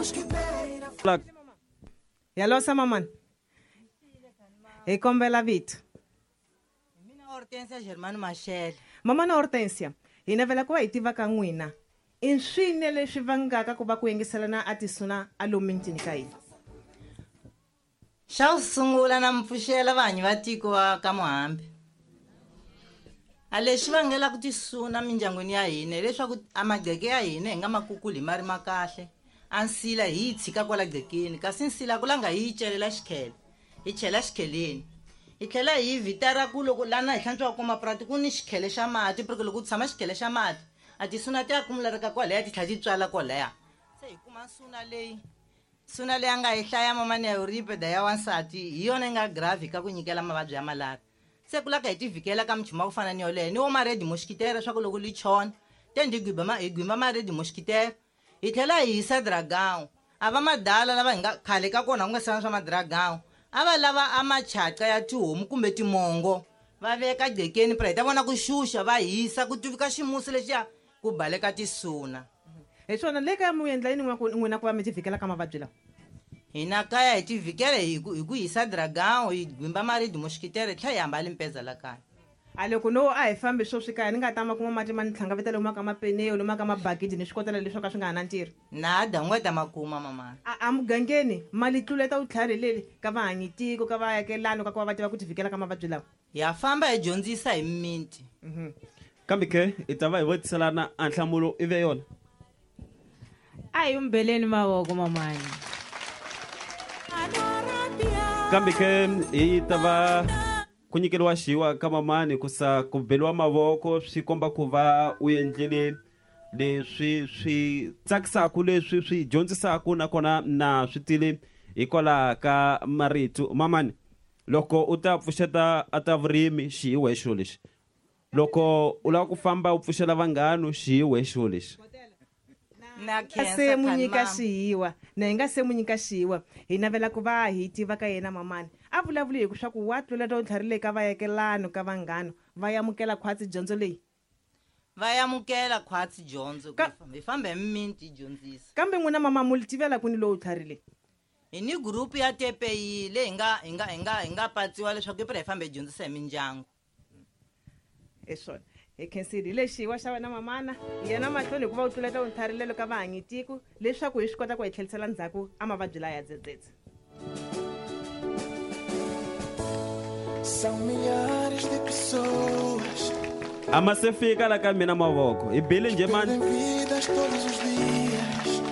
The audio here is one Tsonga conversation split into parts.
Mosquiteira. Yalosa mamani hi kombela vito. Mina Hortensia Germano Mashele. Mamana Hortensia, hi navela ku va hi tiva ka n'wina i swine leswi vangaka ku va ku yingiselana a tisuna a lomu mintini ka hina. Xa ku sungula na mi pfuxela vahanyi va tiko va ka Muhambi. A lexi vangelaka tisuna mindyangwini ya hina hileswaku a magqeke ya hina hi nga ma kukuli hi ma ri ma kahle. A nsila hi yi tshika kwala gqekeni, kasi nsila ku langa hi yi celela xikhele, hi chela xikheleni. Hi tlhela hi yi vitara ku loko lana hi hlantswaka ko mapurati ku ni xikhele xa mati, porque loko ku tshama xikhele xa mati a tisuna ti ya kumuleka kwalaya ti tlhela ti tswala kwalaya. Se hi kuma nsuna leyi, nsuna leyi a nga yi hlaya mamani ya Euripida ya wansati hi yona yi nga grave ka ku nyikela mavabyi ya malaria. Se ku laka hi ti vhikela ka minchumu ya ku fana ni yoleyo ni wo ma-red mosquitero leswaku loko li chona te ndi gwimba ma, hi gwimba ma-red mosquitero hi tlhela hi hisa dragão. A va madala lava hi nga khale ka kona ku nga sana swa madragão a va lava a machaca ya tihomu kumbe timongo va veka gqekeni pra hi ta vona ku xuxa va hisa ku tuvika ximusi lexiya ku baleka tisuna. Hi swona le kaya mu endla yini n'wina ku va mi ti vhikela ka mavabyi lawa? Hina kaya hi ti vhikela hi ku hisa dragão, hi gwimba ma-red mosquitero hi tlhela hi hambali mpeza la kaya. A loko no a hi fambi swo swi kaya ni nga ta ma kuma mati ma ni tlhangaveta lomu ka mapeneyo lomu ka mabakiti ni swikotela leswi ka swi nga ha na ntirho. Nada u nga ta ma kuma mama. A mugangeni mali tluleta vutlhari leli ka vahanyi tiko ka vaakelani ka ku va va tiva ku ti vhikela ka mavabyi lawa. Ya famba hi dyondzisa hi mimiti. Kambe ke hi ta va hi vutiselana a nhlamulo i ve yona. A hi umbeleni mavoko mamani. Kambe ke hi ta va ku nyikeriwa xiwa ka mamani ku sa ku beliwa mavoko swi komba ku va u endlile leswi swi tsakisaka leswi swi dyondzisaka nakona na swi tile hikwalaho ka marito. Mamani, loko u ta pfuxeta a ta vurimi xiwa hi xilo lexi, loko u lava ku famba u pfuxela vanghana xiwa hi xilo lexi. Na khensa Se mu khani nyika mama. xiwa, na hi nga se mu nyika xiwa hi navela ku va hi tiva ka yena mamani. A vulavuli hi ku swa ku wa tluleta u tlharile ka vayakelano ka vanghana va amukela khwatsi dyondzo leyi. Va amukela khwatsi dyondzo ku hi famba hi mimiti hi dyondzisa. Kambe n'wina mama mu tivela kwini lowu tlharile? Hi ni group ya TPI leyi hi nga patsiwa leswaku hi hi famba hi dyondzisa hi mindyangu. Hi swona. Hi khensile hi lexi wa xa wena mamana yena mahlweni hikuva u tluleta u tlharile ka vahanyi tiko leswaku hi swi kota ku hi tlherisela ndzhaku a mavabyi laya ya dzedzedze. São milhares de pessoas A ma se fika la ka mina mavoko hi bile njhe mani? Perdem vidas todos os dias.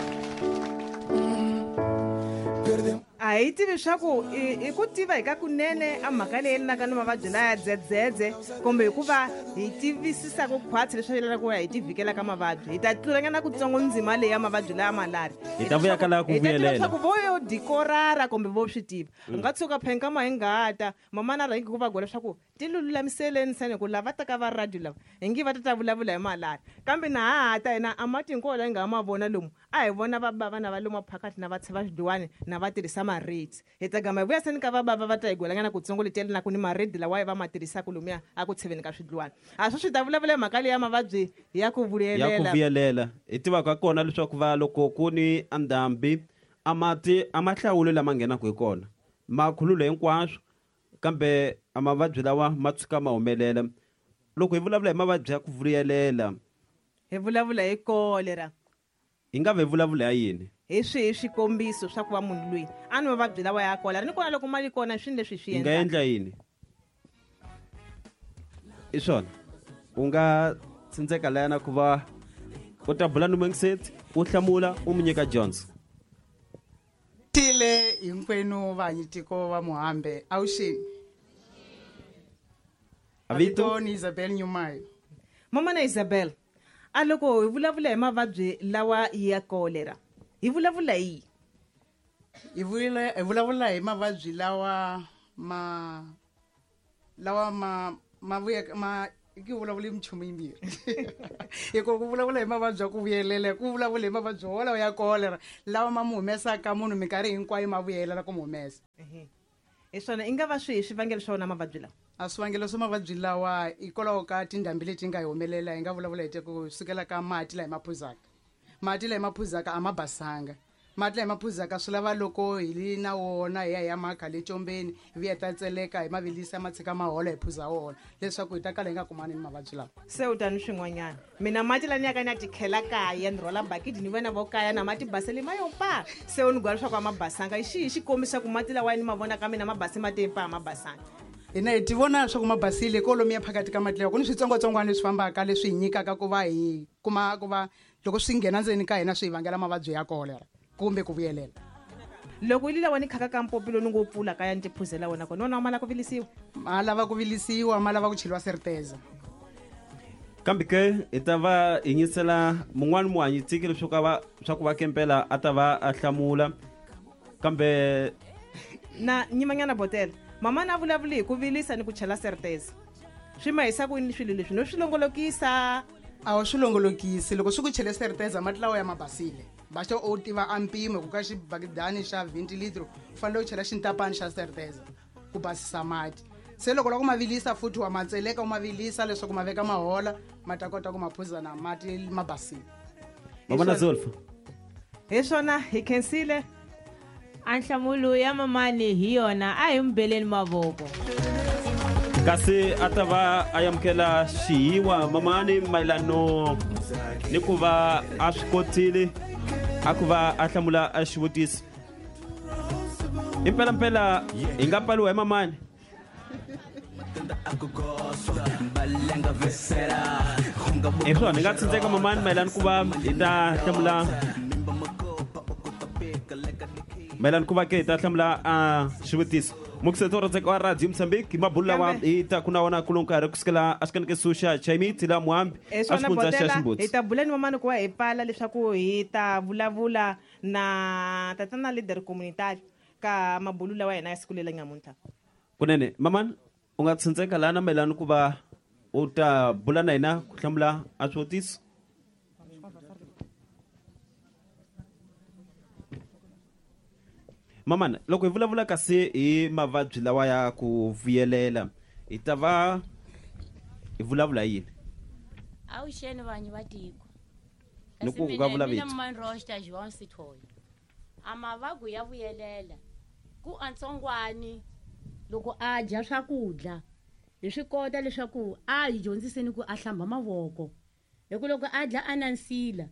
Perdem A hi tivi swa ku i ku tiva hi ka kunene a mhaka leyi yelanaka ni mavabyi laya dzedzedze kumbe hikuva hi tivisisaka khwatsi leswi yelana ku hi ti vhikela ka mavabyi. Hi ta tlulanyana kutsongo ndzima leyi ya mavabyi laya malari. Hi ta vuya ka laha ku Hi ta tiva vuyelela. leswaku vo yo dikorara kumbe vo swi tiva. U nga tshuka phenka ma hi ngata mamana rhangi ku va gola leswaku ti lulamiseleni seni ku lava taka va radio lava hi nge va ta ta vulavula hi malari. Kambe na ha ha ta hina a mati hinkwawo lawa hi nga ma vona lomu a hi vona va bava na va lomu phakathi na va tsheva xidluwani na va tirhisa maredi. Hi ta gama hi vuya seni ka va bava va ta hi gwelanyana kutsongo leti yelanaku ni maredi lawa hi va ma tirhisaka lomuya a ku tsheveni ka swidluwani. A swi swi ta vulavula hi mhaka leyi ya mavabyi ya ku Ya ku vuyelela. vuyelela. Hi tiva ka kona leswaku va loko ku ni andhambi a mati a ma hlawuli lama nghenaka hi kona, ma khulula hinkwaswo, kambe a mavabyi lawa ma tshuka ma humelela. Loko hi vulavula hi mavabyi ya ku vuyelela, hi vulavula hi cholera. Hi nga ve vulavula hi yini? Hi swihi swikombiso swa ku va munhu loyi a ni mavabyi lawa ya cholera? Ni kona loko mali kona swini leswi swi Hi nga endlaka. endla yini? I swona. U nga tsindzeka layana ku va u ta bula ni Mungiseti, u hlamula, u mu nyika dyondzo. Tile hinkwenu vahanyi tiko va Muhambe, avuxeni. Vito? Vito ni Isabel Nyumayo. Mama na Isabel, a loko hi vulavula hi mavabyi lawa ya cholera, hi vulavula hi? Hi vulavula hi mavabyi lawa ma, lawa ma, ma vuya, ma, ki vulavula hi minchumu yimbirhi. Hi ku vulavula hi mavabyi ya ku vuyelela, ku vulavula hi mavabyi wolawo ya cholera lawa ma mu humesaka munhu minkarhi hinkwayo ma vuyelela ku mu humesa. Hi swona, i nga va swihi swivangelo swa wona mavabyi lawa? A swivangelo swa mavabyi lawa hikwalaho ka tindhambi leti nga hi humelela, hi nga vulavula hi te ku sukela ka mati laha hi ma phuzaka. Mati laha hi ma phuzaka a ma basanga. Mati lama phuzaka swi lava loko hi li na wona hi ya hi ya makha le combeni, hi vuya ta tseleka hi ma vilisa ma tshika ma hola hi phuza wona leswaku hi ta kala hi nga kumani ni mavabyi lawa. Se u ta ni swin'wanyana, mina mati lani ya ka ni ya tikhela kaya, ni rhwala bakidi ni vona vo kaya na mati basele ma yo pa. Se u ni gwala leswaku a ma basanga i xihi xikombiso ku mati lawa ni ma vona ka mina ma base mati pa ma basanga? Hina hi ti vona leswaku ma basile kolomiya phakathi ka mati lawa ku ni switsongwatsongwana leswi fambaka leswi hi nyikaka ku va hi kuma ku va loko swi nghena ndzeni ka hina swi hi vangela mavabyi ya kolera kumbe ku vuyelela. Loko yi lawa ni khaka ka mpopi lowu ni ngo pfula kaya ni ti phuzela wona kona wona ma lava ku vilisiwa, ma lava ku vilisiwa, ma lava ku cheliwa serteza. Kambe ke hi ta va hi nyisela mun'wani muhanyi tiki leswaku va swa ku va kempela a ta va a hlamula kambe na nyimanyana botela mama na vulavuli hi ku vilisa ni ku chela serteza swi ma hisa ku yini swilo leswi no swi longolokisa? A wu swi longolokisi, loko swi ku chele serteza mati lawa ya ma basile, baxo u tiva a mpimo ku ka xibakidani xa 20 litro u fanele u chela xintapani xa serteza ku basisa mati. Se loko la ku ma vilisa futhi wa ma tseleka u ma vilisa leswaku ma veka mahola ma ta kota ku ma phuza na mati ma basile. Mavona Zulfa, hi swona hi khensile. A nhlamulo ya mamani hi yona, a hi mubeleni mavoko. Kasi a ta va a amukela xihiwa mamani mayelano ni ku va a swi kotile a ku va a hlamula a xivutiso. Impelampela hi nga pfaliwa hi mamani. Hi swona hi nga tsindzeka mamani mayelana ku va hi ta hlamula, mayelana ku va ke hi ta hlamula a xivutiso. Mukiseto rhandzeka wa Radio Mozambique, mabulu lawa hi ta ku na wona kulo nkarhi kusukela a xikaneke suxa Chaimiti la Muhambi a xifundza xa Ximbudzi. Hi ta bula ni mamani ku va hi pfala leswaku hi ta vulavula na tatana leader communitary ka mabulu lawa hina ya siku leri nyamuntlha. Kunene mamani u nga tsindzeka lana mayelana ku va u ta bula na hina ku hlamula a swivutiso. Mamana, loko hi vulavula kasi hi mavabyi lawa ya ku vuyelela hi ta va hi vulavula yini? Avuxeni vanhu va tiko. Ni ku nga vula vito. Mina Rosta João Sithole. A mavabyi ya vuyelela ku antsongwani loko a dya swakudya hi swi kota leswaku a hi dyondziseni ku a hlamba mavoko, hi ku loko a dya a na nsila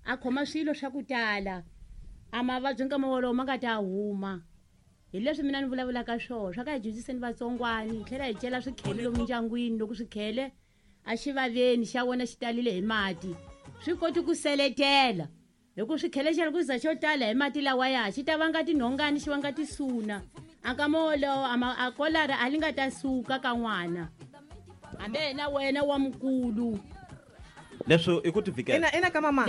a khoma swilo swa ku tala a mavabyi nkama wolowo ma nga ta huma. Hi leswi mina ni vulavulaka swona swa ka hi dyondziseni vatsongwani, hi tlhela hi cela swikhele lomu ndyangwini. Loko swikhele a xivaveni xa wona xi talile hi mati swi koti ku seletela, hi ku swikhele xa ku za xo tala hi mati lawaya xi ta vanga tinhongani, xi vanga tisuna. A nkama wolowo a kolara a li nga ta suka ka n'wana hambi yena wena wa mukulu. Leswo i ku tivikela. Ina ka mama.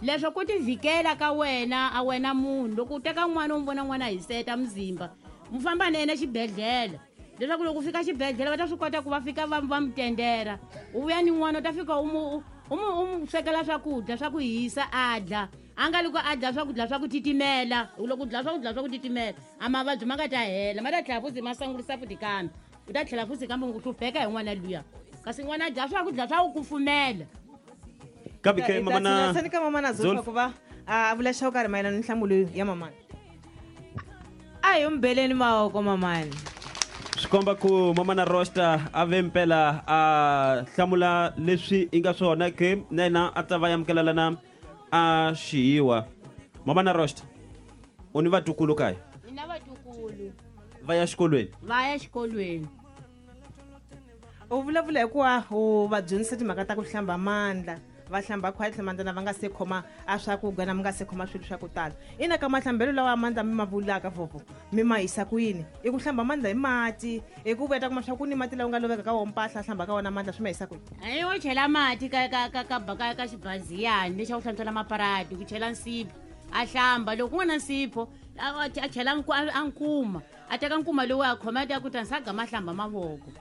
Leswo ku tivikela ka wena a wena munhu loko u teka n'wana u n'wi vona n'wana hi seta muzimba mu famba na yena xibedhlele, leswaku loko u fika xibedhlele va ta swi kota ku va fika va va mu tendera. U vuya ni n'wana u ta fika u mu u mu swekela swakudya swa ku hisa a dya, a nga loko a dya swakudya swa ku titimela. Loko u dya swakudya swa ku titimela a mavabyi ma nga ta hela, ma ta tlhela futhi ma sangulisa futhi kambe u ta tlhela futhi kambe u hlupheka hi n'wana luya, kasi n'wana a dya swakudya swa ku kufumela. Kambe ke mamana sani ka mamana Zulfa ku va a vula xo karhi mayelana ni nhlamulo ya mamana. A hi mbeleni mavoko mamani. Swi komba ku mamana Rosta a ve mpela a hlamula leswi i nga swona ke na yena a ta va amukela lana a xiyiwa. Mamana Rosta, u ni vatukulu kaya? Ni na vatukulu. Va ya xikolweni? Va ya xikolweni. U vulavula hi ku u va dyondzisa timhaka ta ku hlamba mandla, va hlamba khwatli mandla na va nga se khoma a swakudya na mi nga se khoma swilo swa ku tala. Ina ka mahlambelo lawa mandla mi ma vulaka vovo mi ma yisa ku yini? I ku hlamba mandla hi mati, i ku vuya ta kuma swa ku ni mati lawa u nga loveka ka wona mpahla hlamba ka wona mandla swi ma yisa ku yini? Ayi wo chela mati ka ka ka ka ka ka xibaziyani lexi a ku hlantswela maparati, ku chela nsipho a hlamba. Loko ku nga na nsipho a chela a nkuma, a teka nkuma lowu a khoma ta ku ta nsaga ma hlamba mavoko.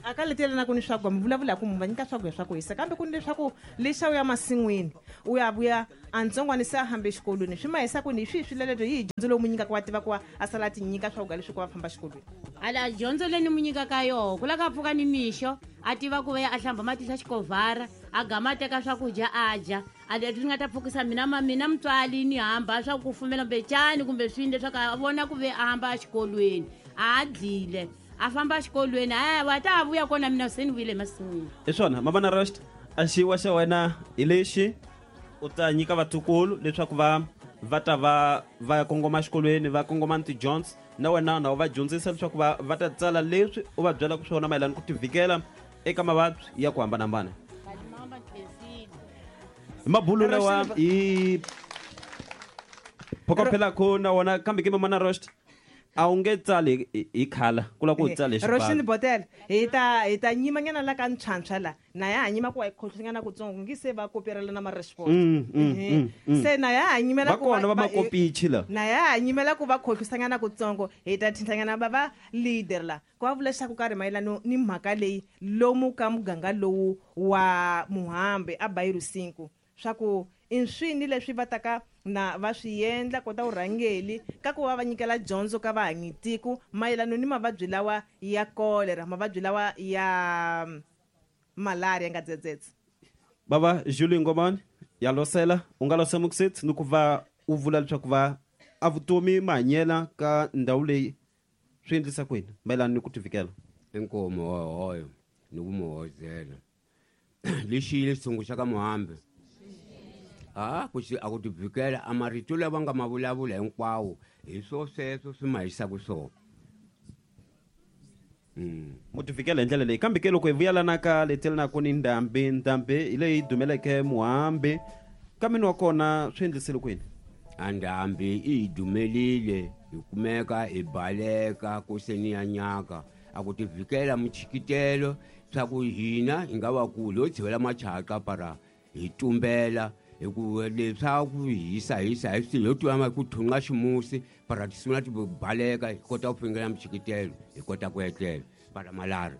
A ka letela na ku ni swakudya mi vulavula ku mi va nyika swakudya swa ku hisa, kambe ku ni leswaku lexa u ya masin'wini u ya vuya a ntsongwana se a hambe exikolweni swi ma hisa ku ni hi swihi swileleto hi dyondzo lowu mu nyikaka wa tiva ku a sala a ti nyika swakudya leswi ku va famba xikolweni? Ala dyondzo leyi ni mu nyikaka yoho ku lava ka pfuka ni mixo a tiva ku va ya a hlamba mati xa xikovhara a gama a teka swakudya a dya, A leswi nga ta pfukisa mina ma mina mutswali ni hamba swa ku kufumela mbecani kumbe swini leswaku a vona ku ve a hamba exikolweni a dlile a famba exikolweni a wa ta vuya kona mina se ni vuyile emasin'wini. Hi swona Mamana Rost, a xiwa xa wena hi lexi u ta nyika vatukulu leswaku va ta va ya kongoma exikolweni, va kongoma ni tidyondzo, na wena na u va dyondzisa leswaku va ta tsala leswi u va byelaka swona mayelana ku tivhikela eka mavabyi ya ku hambanahambana. Hi mabulu lawa hi phokophelako na wona, kambe ke Mamana Rost a wu nge tsali hi khala ku lava ku u tsala hi xibalo. Roxini Botel, hi ta nyimanyana la ka ntshwantshwa la na ya ha nyima ku wa hi khohlonyana kutsongo ngi se va koperela na ma-response. Se na ya ha nyimela va ku kona va makopichi la na ya ha nyimela ku va khohlisanyana kutsongo. Hi ta thintlanyana va leader la ku va vula leswaku karhi mayelano ni mhaka leyi lomu ka muganga lowu wa Muhambi a Bayiru 5 swa ku i swini leswi va taka na va swi endla kota vurhangeli ka ku va va nyikela dyondzo ka vahanyitiko mayelano ni mavabyi lawa ya kolera, mavabyi lawa ya malaria nga dzedzedze. Bava Julie Ngomani ya losela u nga losa mukusetsi ni ku va u vula leswaku va a vutomi mahanyela ka ndhawu leyi swi endlisa kwini mayelana ni ku tivikela. Inkomo hoyo ni ku muhozela lexi lexitsongo xa ka Muhambi a ku a ku tivikela a marito lawa nga ma vulavula hinkwawo hi swo sweswo swi ma hisaka swona. Mu tivikela hi ndlela leyi, kambe ke loko hi vuyelana ka letelanaku ni ndhambi hi leyi dumeleke Muhambi kambe ni wa kona swi endlisile kwini? A ndhambi i hi dumelile hi kumeka hi baleka ku se ni ya nyaka a ku tivikela muchikitelo swa ku hina hi nga vakulu ho tshivela machaka para hi tumbela hi ku leswaku hisa hisa hi swilo ho tiva ku thunga ximusi para ti sungula ti baleka hi kota ku fingela muchikitelo hi kota ku etlela para malari.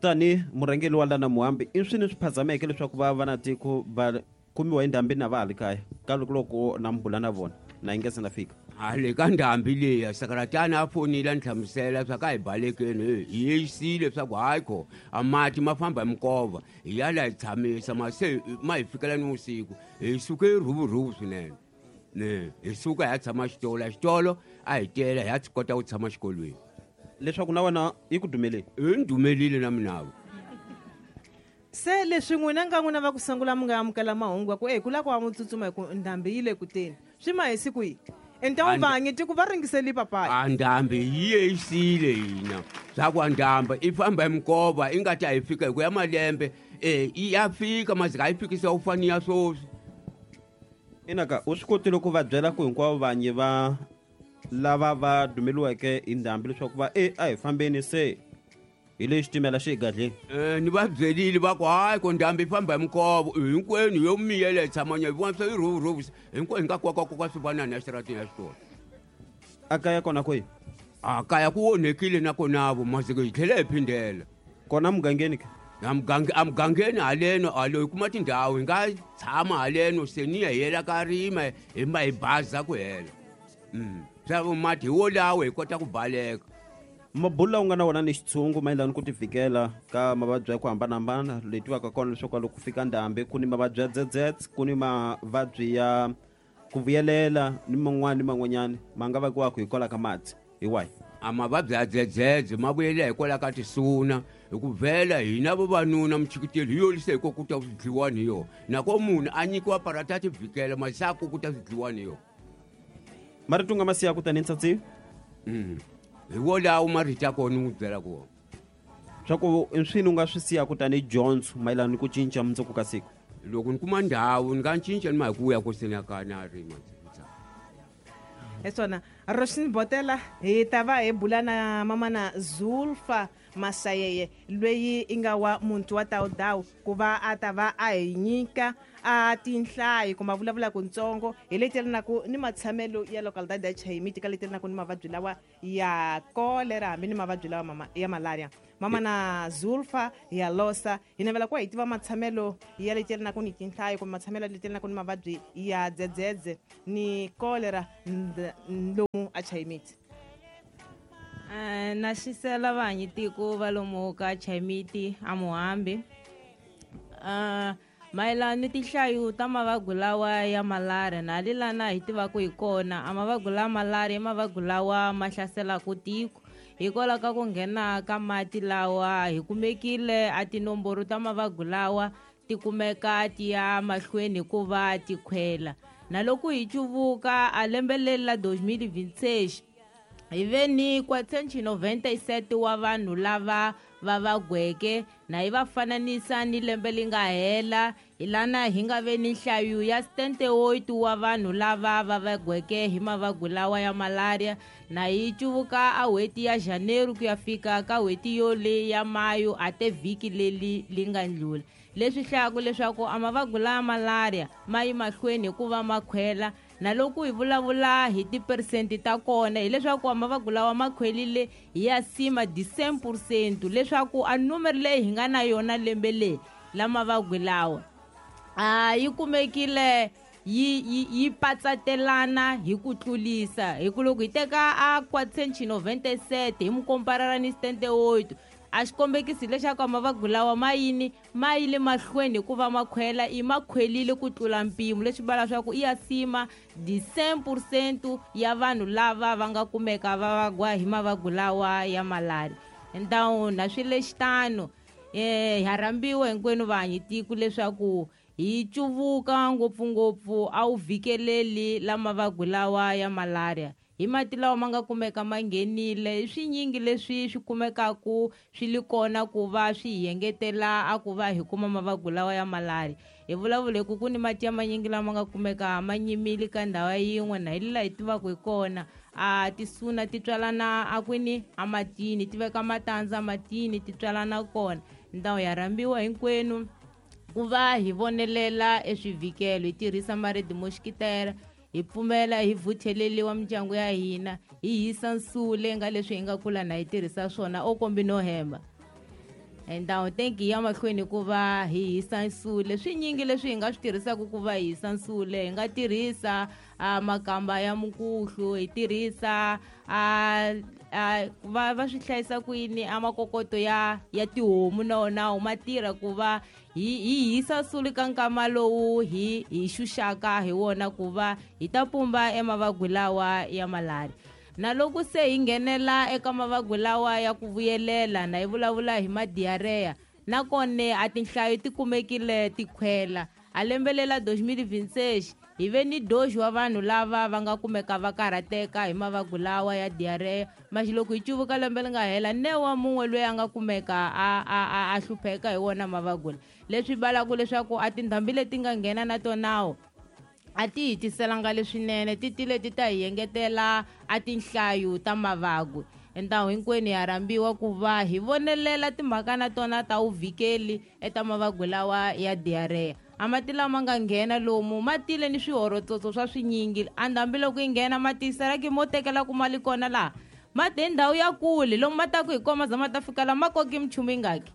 Tani murhangeri wa lana Muhambi i swini swi phazameke leswaku va va na tiko va kumiwa hi ndhambi na va ha li kaya ka loko na mbula na vona na yi nga se na fika? A le ka ndhambi leya sakaratana a fonile a ni hlamusela swa ka hi balekeni hi yeyisile swa ku hayi kho a mati ma famba hi minkova hi ya la hi tshamisa ma se ma hi fikela ni vusiku hi suke rhuvurhuvu swinene ne hi suka hi ya tshama xitolo xitolo a hi tela hi ya kota ku tshama xikolweni. Leswaku na wena yi ku dumeleni? Yi ni dumelile na minavo. Se leswi n'wina nga n'wina va ku sungula mi nga amukela mahungu ya ku ku lava ku va mutsutsuma hi ku ndhambi yi le ku teni swi ma hi siku yihi? Enta u vangi tiko va ringiseli papayi. A ndhambi yi yeyisile hina swa ku a ndhambi i famba hi minkova i nga ta hi fika hi ku ya malembe ya fika mazika a yi fikisa u fani ya swoswi. Inaka u swi kotile ku va byela ku hinkwavo vanyi va lava va dumeliweke hi ndhambi leswaku va a hi fambeni se hi le xitimela xi egadleni? Ni va byerile va ku hayi ku ndhambi yi famba hi minkova hinkwenu yo miyela hi tshamanya hi vona swa yi rhuvurhuvu hinkwenu hi nga kwakwakwakwa swi vanani ya xitarateni ya xitolo. A kaya kona kwihi? A kaya ku onhekile nakonavo masiku hi tlhela hi phindela. Kona mugangeni ke? A mugangeni haleno halo hi kuma tindhawu hi nga tshama haleno se ni ya hi yela ka rima hi ma hi baza ku hela. Swa mati hi wolawo hi kota ku baleka. Mabulu lawa u nga na wona ni xitshungu mayelana ku tivikela ka mavabyi ya ku hambanahambana leyi tivaka kona leswaku loko ku fika ndhambi ku ni mavabyi ya dzedzedze, ku ni mavabyi ya ku vuyelela ni man'wana ni man'wanyana ma nga vakiwaka hikwalaho ka mati hi wahi? A mavabyi ya dzedzedze ma vuyelela hikwalaho ka tisuna hi ku vhela hina vavanuna muchikiteli hi yolise hi ko ku ta swi dliwa ni yona nako munhu a nyikiwa parata ti vhikela masiku ku ta swi dliwa ni yona. Marito nga ma siya ku tani ntsatsi? Hi wolawo marito ya kona ni n'wi byela ku wona. Swa ku i swini u nga swi siya ku tani dyondzo mayelana ni ku cinca mundzuku ka siku? Loko ni kuma ndhawu ni nga cinca ni ma hi ku vuya ku se ni ya ka na rima. Hi swona Roxini Botela hi ta va hi bula na mamana Zulfa Masayeye loyi i nga wa muti wa Tawudawu ku va a ta va a hi nyika a tinhlayo kumbe a vulavula kuntsongo hi leti yelanaka ni matshamelo ya localidade ya Chayimiti ka leti yelanaka ni mavabyi lawa ya kolera hambi ni mavabyi lawa ya malaria. Mamana Zulfa ya losa hi navela ku hi tiva matshamelo ya leti yelanaka ni tinhlayo kumbe matshamelo leti yelanaka ni mavabyi ya dzedzedze ni kolera lomu a Chayimiti. Na xisela vanyi tiko va lomu ka Chayimiti a Muhambi. Mayelana ni tinhlayo ta mavabyi lawa ya malaria na lilana hi tivaka hi kona a mavabyi la malaria i mavabyi lawa ma hlaselaka tiko hikwalaho ka ku nghena ka mati lawa hi kumekile a tinomboro ta mavabyi lawa ti kumeka ti ya mahlweni hikuva ti khwela na loko hi cuvuka a lembe leri la 2026 hi ve ni 497 wa vanhu lava va vagweke na hi va fananisa ni lembe li nga hela hi lana hi nga ve ni nhlayo ya 78 wa vanhu lava va vagweke hi mavabyi lawa ya malaria na hi cuvuka a n'hweti ya janeru ku ya fika ka n'hweti yoleyi ya mayo a te vhiki leri li nga ndlula leswi hlayaka leswaku a mavabyi laya malaria ma yi mahlweni hikuva ma khwela na loko hi vulavula hi tiperesenti ta kona hileswaku a mavabyi lawa ma khwelile hi ya sima 10 percent leswaku a numero leyi hi nga na yona lembe leyi la mavabyi lawa a yi kumekile yi yi yi patsatelana hi ku tlulisa hi ku loko hi teka a 497 hi mu komparara ni 78 a xi kombekisi leswaku mavabyi lawa ma yini ma yile mahlweni hikuva ma khwela i ma khwelile ku tlula mpimo leswi vula leswaku i ya sima 10 percent ya vanhu lava va nga kumeka va vagwa hi mavabyi lawa ya malaria ntawu na swi lexitano ha rhambiwa hinkwenu vahanyi tiko leswaku hi cuvuka ngopfungopfu a wu vhikeleli la mavabyi lawa ya malaria hi mati lawa ma nga kumeka ma nghenile i swinyingi leswi swi kumekaku swi li kona ku va swi hi engetela a ku va hi kuma mavabyi lawa ya malaria hi vulavula hi ku ku ni mati ya manyingi lama nga kumeka ma nyimile ka ndhawu yin'we na hi lela hi tivaka hi kona a tisuna ti tswalana a kwini amatini ti veka matandza matini ti tswalana kona ndhawu ya rhambiwa hinkwenu ku va hi vonelela eswivhikelo hi tirhisa maridi mo xikitela hi pfumela hi vutheleliwa mindyangu ya hina hi hisa nsule nga leswi hi nga kula na hi tirhisa swona o kombi no hemba ndhawu tenki ya mahlweni ku va hi hisa nsule swinyingi leswi hi nga swi tirhisaka ku va hi hisa nsule hi nga tirhisa makamba ya mukhuhlu hi tirhisa va va swi hlayisa kwini a makokoto ya ya tihomu na wona ma tirha ku va hi hi hisa suli ka nkama lowu hi hi xuxaka hi wona ku va hi ta pumba emavabyi lawa ya malaria na loko se hi nghenela eka mavabyi lawa ya ku vuyelela na hi vulavula hi madiyareya nakona a tinhlayo ti kumekile ti khwela a lembe lela 2026 hi ve ni doxi wa vanhu lava va nga kumeka va karhateka hi mavabyi lawa ya diarrhea maxi loko hi cuvuka lembe li nga hela ne wa mun'we loyi a nga kumeka a a a, a hlupheka hi wona mavabyi leswi valaka leswaku a tindhambi leti nga nghena na tonawo a ti hi tiselanga leswinene ti tile ti ta hi engetela a tinhlayo ta mavabyi endawu hinkwenu ya rhambiwa ku va hi vonelela timhaka na tona ta vuvhikeli eta mavabyi lawa ya diarrhea a mati lama nga nghena lomu ma tile ni swihorotsotso swa swinyingi a ndhambi loko yi nghena mati seraki mo tekela ku mali kona laha ma te ndhawu ya kule lomu ma taku hi koma za ma ta fika la ma koki minchumu yingaki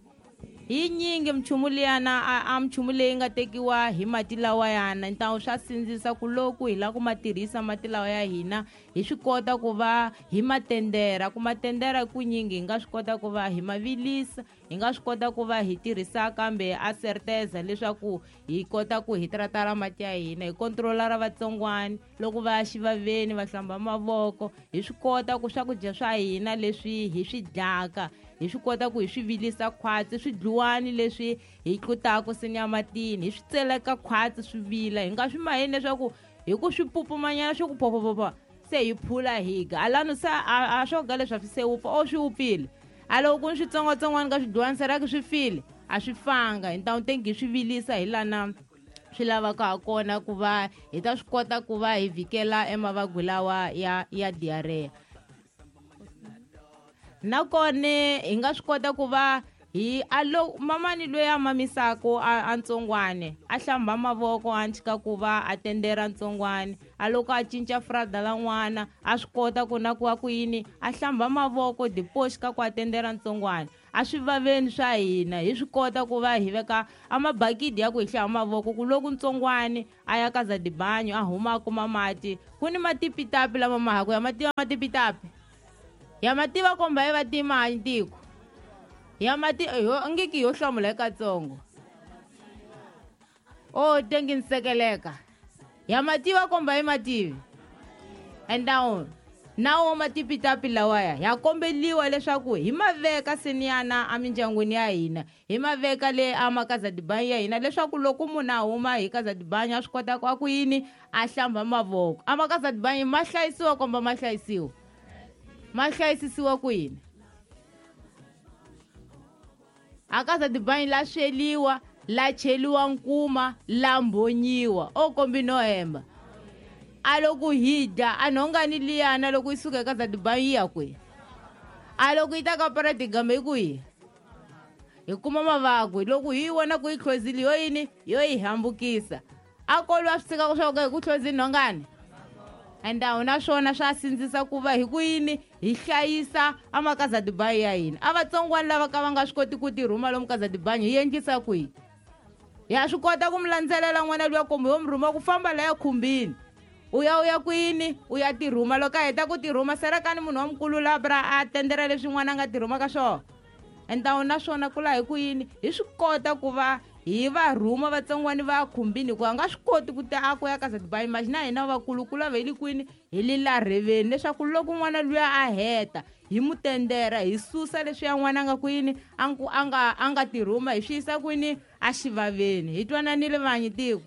hi nyingi minchumu liyana a minchumu leyi nga tekiwa hi mati lawayana ntawu swa sindzisa ku loko hi lava ku ma tirhisa mati lawa ya hina hi swi kota ku va hi matendera ku matendera ku nyingi hi nga swi kota ku va hi ma vilisa hi nga swi kota ku va hi tirhisa kambe a certeza leswaku hi kota ku hi tratara mati ya hina hi controla ra vatsongwani loko va ya xivaveni va hlamba mavoko hi swi kota ku swakudya swa hina leswi hi swi dyaka hi swi kota ku hi swi vilisa khwatsi swidluwani leswi hi tlutaka sinyamatini hi swi tseleka khwatsi swi vila hi nga swi maheni leswaku hi ku swi pupumanyana swi ku phophophopho se hi phula hi ga alano se a swo ga leswi a swi se wupfa o swi wupfile a loko ku ni switsongwatsongwana ka swidluwani seraki swi file a swi fanga hi ntawu tengi hi swi vilisa hi lana swi lavaka ha kona ku va hi ta swi kota ku va hi vhikela emavabyi lawa ya ya diarrhea nakona hi nga swi kota ku va hi alo mamani loyi a mamisaka a ntsongwane a hlamba mavoko a tshika ku va a tendera ntsongwane a loko a cinca frada la n'wana a swi kota ku na ku va ku yini a hlamba mavoko dipoxi ka ku a tendera ntsongwane a swi vaveni swa hina hi swi kota ku va hi veka a mabakidi ya ku hi hlamba mavoko ku loko ntsongwane a ya ka zadibanyo a huma a kuma mati ku ni matipitapi lama ma haku ya mativa matipitapi ya mativa komba yi va tima tiko ya mati yo ngiki yo hlamula ekatsongo O tengi nsekeleka ya mativa komba hi mativi endawo nawo matipitapi lawaya ya kombeliwa leswaku hi maveka seniyana emindyangwini ya hina, hi maveka le amakazadibanyi ya hina, leswaku loko munhu a huma hi kazadibanyi a swi kota ku a ku yini a hlamba mavoko. Amakazadibanyi ma hlayisiwa komba ma hlayisiwa, ma hlayisisiwa ku yini? Akazadibanyi la sweliwa, la cheliwa nkuma, la mbonyiwa o kombi no hemba. A loko hi dya a nhongani liyana loko yi suka eka zadibanyi yi ya kwihi? A loko yi ta ka paradigama yi kwihi? Hi kuma mavabyi loko hi yi vona ku yi hlozile yo yini yo yi hambukisa. A kolwa swi tshika swa ku hi ku hlozini nhongani endawo naswona swa sindzisa ku va hi ku yini hi hlayisa amakazadibanyi ya hina. A vatsongwana lava ka va nga swi koti ku tirhuma lomu kazadibanyi hi endlisa kwihi? Ya swi kota ku mi landzelela n'wana luya kumbe yo mi rhuma ku famba laya khumbini, u ya kwini u ya tirhuma. Loko a heta ku tirhuma serekani munhu wa mukulu labra a tendera leswi n'wana a nga tirhuma ka swona. Endawo naswona ku laha hi ku yini hi swi kota ku va hi va rhuma vatsongwani va khumbini, hikuva a nga swi koti ku ta a ku ya ka zadibanyi. Imagine hina vakulu lava hi le kwini hi le larheveni, leswaku loko n'wana luya a heta hi mu tendera, hi susa leswi ya n'wana a nga kwini a nga tirhuma, hi swi yisa kwini a xivaveni. Hi twananile vanyi tiko.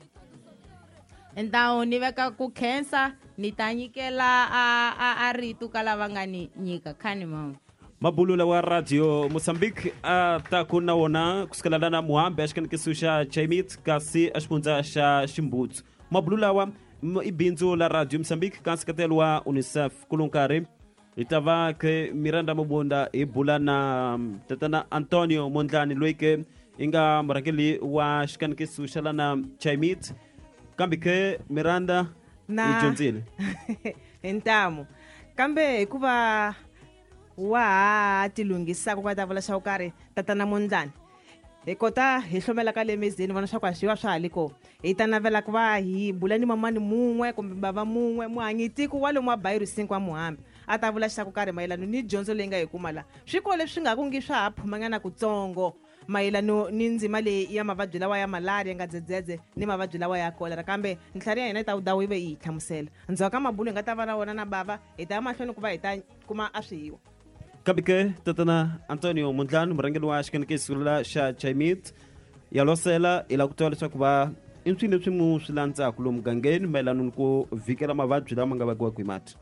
Endawo ni veka ku khensa, ni ta nyikela a rito ka lava nga ni nyika khani mama. Mabulula wa Radio Mozambique a ta ku na wona kusukela lana Muhambi exikanekiso xa Chaimit kasi exifundza xa Ximbutsu. Mabulula wa i bindzu la Radio Mozambique ka nseketelo wa UNICEF. Kulunkarhi hi ta va ke Miranda Mabunda hi bula na tatana Antonio Mondlane loyi ke i nga murhangeri wa xikanekiso xa lana Chaimit. Kambe ke Miranda hi dyondzile hi ntamu, kambe hikuva wa ha tilunghisaka ku ta vula xa ku karhi tatana Mondlane, hi kota hi hlomela ka le mezeni vona swa ku a swi va swa ha le kona. Hi ta navela ku va hi bula ni mamani mun'we kumbe bava mun'we muhanyitiko wa lomu wa Bairro 5 wa Muhambi a ta vula xa ku karhi mayelana ni dyondzo leyi nga hi kuma la. Swikolo leswi nga ku ngi swa ha phumanyana kutsongo mayelana ni ndzima leyi ya mavabyi lawa ya malaria nga dzedzedze ni mavabyi lawa ya kolera, kambe ntlhari ya hina yi ta dawu yi ve yi hi hlamusela. Ndzhaku ka mabulo hi nga ta va na wona na bava, hi ta ya mahlweni ku va hi ta kuma a swihiwa. Kambe ke tatana Antonio Mondlane murhangeri wa xikanekiso xa Chaimit ya losela hi lava ku tiva leswaku va i swilo leswi mu swi landzaka lomu mugangeni mayelana ni ku vhikela mavabyi lama nga vangiwaka hi mati.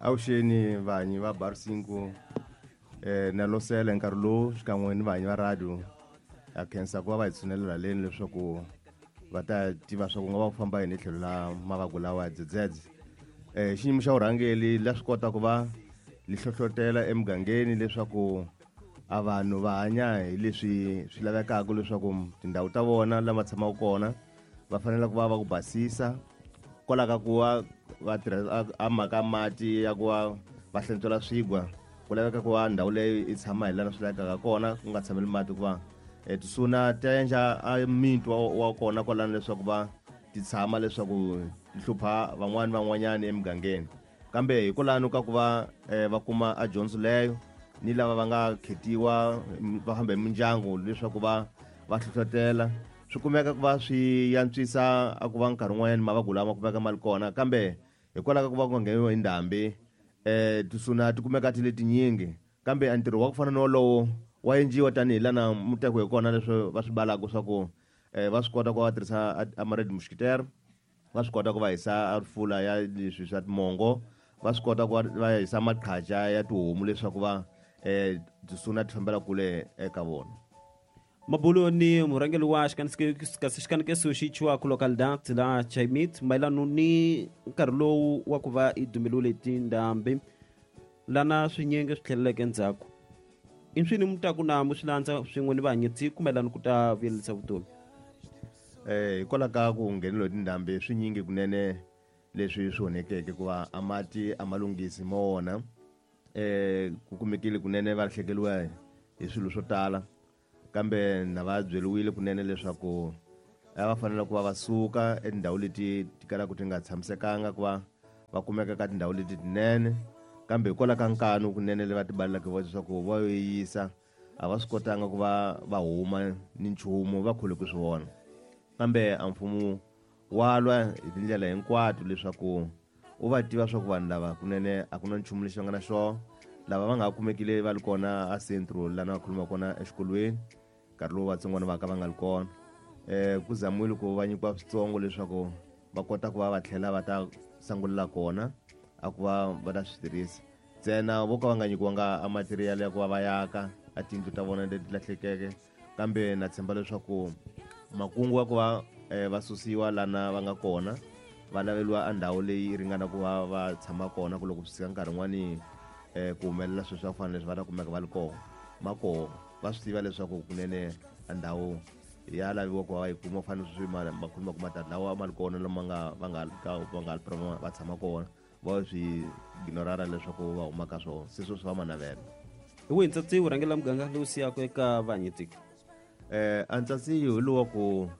Avuxeni vanyi va Bairro 5 na losela nkarhi lowu xikan'we ni vanyi va radio ya khensa ku va va hi tshunelela leni leswaku va ta tiva swa ku nga va ku famba yini hi tlhelo la mavabyi lawa ya dzedzedze. Xiyimo xa vurhangeri la swi kota ku va li hlohlotela emugangeni leswaku a vanhu va hanya hi leswi swi lavekaka leswaku tindhawu ta vona lama tshamaka kona va fanele ku va va ku basisa, kwalaho ka ku va va tirhisa a mhaka mati ya ku va va hlantswela swigwa, ku laveka ku va ndhawu leyi yi tshama hi laha swi lavekaka kona, ku nga tshameli mati ku va tisuna ta endla a mintwa wa kona kwalano leswaku va ti tshama leswaku ti hlupha van'wani van'wanyani emugangeni. Kambe hikwalano ka ku va va kuma a dyondzo leyo ni lava va nga khetiwa va famba hi mindyangu leswaku va va hlohlotela, swi kumeka ku va swi antswisa a ku va nkarhi wun'wanyani mavabyi lama kumeka ma ri kona. Kambe hikwalaho ka ku va ku nga ngheniwa hi ndhambi tisuna ti kumeka ti le tinyingi, kambe a ntirho wa ku fana na wolowo wa endliwa tanihi lana muteko hi kona leswi va swi balaka swa ku va swi kota ku va tirhisa a ma-red mosquitaire, va swi kota ku va hisa a rifula ya leswi swa timongo, va swi kota ku va hisa maqhaja ya tihomu leswaku va tisuna ti fambela kule eka vona. Mabulo ni murhangeri wa xikanekiso xi chiwaka localidade la Chaimit mayelana ni nkarhi lowu wa ku va i dumeliwile tindhambi lana swinyingi swi tlheleleke endzhaku. I swini mi ta ku na mu swi landza swin'we ni vahanyetsi mayelana ku ta vuyelisa vutomi? Hikwalaho ka ku ngheneliwa hi tindhambi swinyingi kunene leswi swi onhekeke ku va a mati a ma lunghisi mo wona, ku kumekile kunene va lahlekeriwa hi swilo swo tala, kambe na va byeriwile kunene leswaku a va fanele ku va va suka etindhawu leti ti kalaka ti nga tshamisekanga ku va va kumeka ka tindhawu leti tinene. Kambe hikwalaho ka nkanu kunene leyi va ti balelaka voxe leswaku va yo yisa A va swi kotanga ku va va huma ni nchumu va khole ku swi vona, kambe a mfumo wa lwa hi tindlela hinkwato leswaku u va tiva swa ku vanhu lava kunene a ku na nchumu lexi va nga na xona. Lava va nga ha kumekile va ri kona a centro lana va khuluma kona exikolweni nkarhi lowu vatsongwana va ka va nga ri kona, ku zamiwile ku va nyikiwa switsongo leswaku va kota ku va va tlhela va ta sangulela kona a ku va va ta swi tirhisa ntsena. Vo ka va nga nyikiwanga a material ya ku va va yaka a tiyindlu ta vona leti lahlekeke, kambe na tshemba leswaku makungu ya ku va va susiwa lana va nga kona va laveliwa a ndhawu leyi ringana ku va va tshama kona, ku loko swi fika nkarhi wun'wani ku humelela swilo swa ku fana leswi va ta kumeka va ri kona ma koho, va swi tiva leswaku kunene a ndhawu ya laviwa ku va va yi kuma. Ku fana sweswi va khuluma ku matatu lawa ma ri kona lama nga va nga ka va nga va tshama kona, va swi ignorara leswaku va huma ka swona, se sweswi va ma navela. Hi wihi ntsatsi wu rhangela muganga lowu siyaka eka vahanyetiko? A ntsatsi hi lowa ku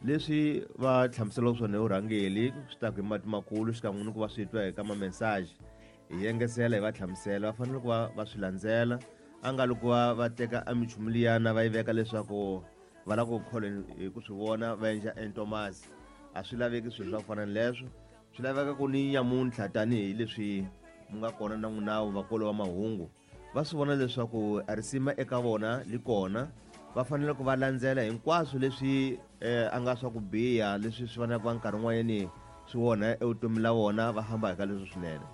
leswi va hlamuselaka swona hi vurhangeli swi ta ku hi mati makulu xikan'we ni ku va swi twa hi ka ma-message, hi engesela hi va hlamusela, va fanele ku va va swi landzela. A nga loko va va teka a minchumu liyana va yi veka leswaku va lava ku kholwa hi ku swi vona va endla entomasi, a swi laveki swilo swa ku fana ni leswo. Swi laveka ku ni nyamuntlha tanihileswi mu nga kona na n'winawu vakolo va mahungu va swi vona leswaku a risima eka vona li kona, va fanele ku va landzela hinkwaswo leswi a nga swa ku biha leswi swi faneleke va nkarhi wun'wanyani swi onha evutomi la vona, va famba hi ka leswi swinene.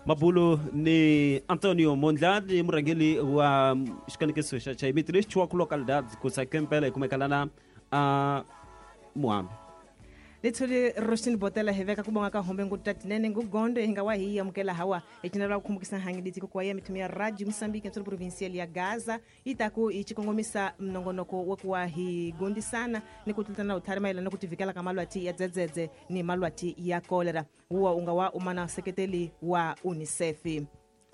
Mabulo ni Antonio Mondlane, murhangeri wa xikanekiso xa Chaimiti lexi thiwaka localidade ku sakempela hi kumeka lana a Muhambi. Lithuli Roshin Botela, hi veka ku bonga ka hombe nguta tinene ngugondo hi nga wa hi amukela hawa hi cinela ku khumbukisa hangi litiko kwa ya mithumi ya Radio Mozambique nsolo provincial ya Gaza yi ta ku hi xikongomisa minongonoko wa ku wa hi gondisana ni ku tlutana vutlhari mayelana ku tivikela ka malwati ya dzedzedze ni malwati ya kolera wuwa u nga wa umana seketeli wa UNICEF.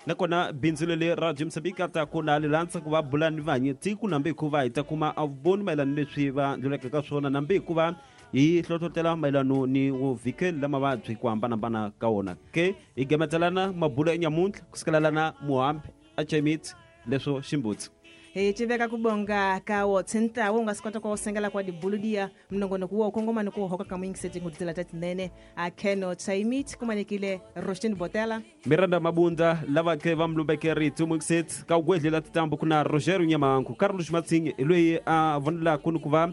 Nakona bindzu leri Radio Mozambique a ta ku na lilandza ku va bula ni vanyi tiko nambe hikuva hi ta kuma a vuboni mayelana leswi va ndluleke ka swona, nambe hikuva hi hlohlotela mayelano ni vuvikeli la mavabyi ku hambanahambana ka wona. Ke hi gemetselana mabulo enyamuntlha kusukela lana Muhambi a Chemit leswo ximbutsi. Hi tiveka ku bonga ka wo tshintlawo u nga swi kota ku sengela kwa dibuludiya minongonoko wo kongoma ni ku hoka ka muyingiseti ngutitela ta tinene a Keno Chaimit kumanekile Roshin Botela Miranda Mabunda lava ke va mlumbeke rito muyingiseti ka ugwedlela titambu ku na Rogério Nyamanku Carlos Matsinhe hi loyi a vonelaka ni ku va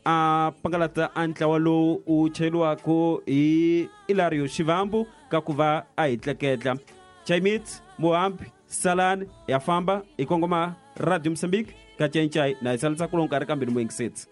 a pangalata a ntlawa lowu u chayeriwaka hi Ilario Xivambu ka ku va a hi tleketla. Chaimit Muhambi salani ya famba hi kongoma Radio Mozambique ka Cencai na hi salisa kulonkarhi kambe ni muyingiseti.